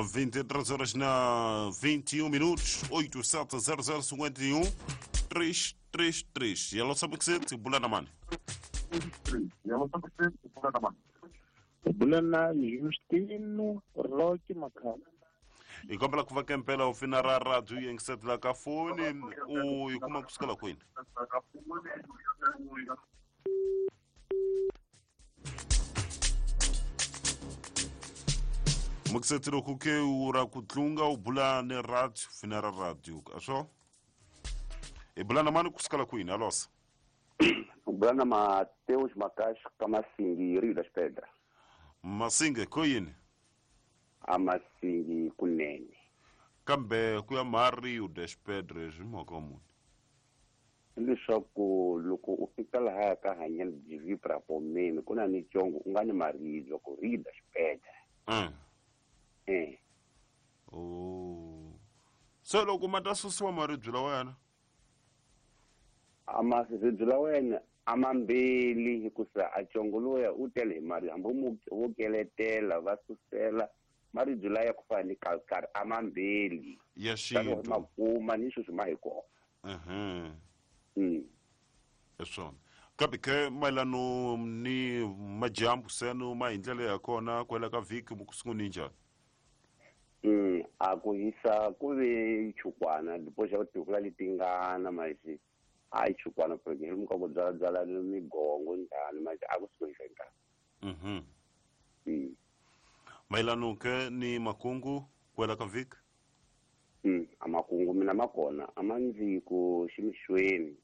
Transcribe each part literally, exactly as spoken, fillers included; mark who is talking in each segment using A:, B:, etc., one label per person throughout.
A: vinte e três horas na vinte e um minutos, oito sete zero zero cinquenta e um três três três. E ela sabe que você bulana mano.
B: Bulana Justino Roque Macau.
A: E como ela vai campela o final da rádio em que sete lá cafone o e como é que se cala com ele? Moksetiro kuke ura kutlunga o bulane rádio final da rádio. Achou? E bulana mano kuskala kwini alosa.
C: Bulana Mateus Macacho Kamasingi Rio das Pedras.
A: Masinga koyini?
C: Amasingi kunene.
A: Kambe kuya ma Rio das Pedras mokomu.
C: Leswaku loko u fika laha ka hanyana byi pra pomeni kuna ni chongo u nga ni maribye ku Rio das Pedras.
A: Mm.
C: Eh.
A: Oh. So loko mata susiwa maribye lawa yana?
C: Ama ribye la wena amambili hikusa a chongo loya u tele hi mari hambi wo keletela va susela maribye laya ku fana ni kalkar amambili
A: ya xintu
C: makuma ni sweswi ma hi kona.
A: Mhm.
C: Mm.
A: Eswona kambe ke mayelano ni majambu seno ma hi ndlela ya kona kwela ka vhiki mukusunguni njhani?
C: Mm, a ku hisa ku ve chukwana dipoxa ku tivula letingana maxi a yi chukwana porque hi muka ku byala byala migongo njhani maxi a ku suka hisa nkarhi.
A: Mhm.
C: Mm.
A: Mayelano ke ni makungu kwela ka vhiki?
C: Mm, a makungu mina makona a ma ndzi ku ximixweni.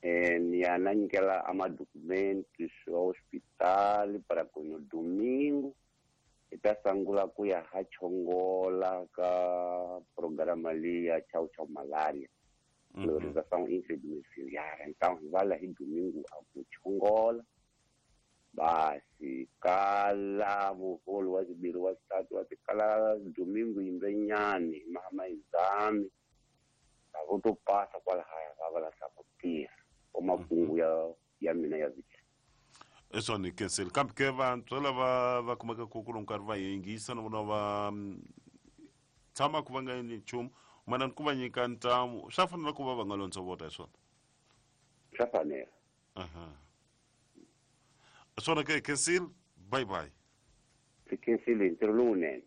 C: Eh, ni ya na nyikela a madocumentos swa hospital para ku no domingo hi ta sungula ku ya ha chongola ka programa leyi ya Chau Chau Malaria. Lorização intradomiciliar. Então, vai lá domingo a ku chongola. Basi kala muholo wa zibiri wa zitatu wa kala domingo imbenyani mama exame. Vo passa kwalahaya va va lahla ku tirha o makungu ya ya mina ya vhiki.
A: Eswona cancel kambe ke vantshwa lava va kumeka ku ku nkarhi va yingisa na vona va tshama ku va nga endli nchumu mana ku va nyika ntamu swa fanela ku va va nga londzovota hi swona?
C: Swa fanela.
A: Aha. Swona ke cancel bye bye.
C: Cancel ntirho lowunene.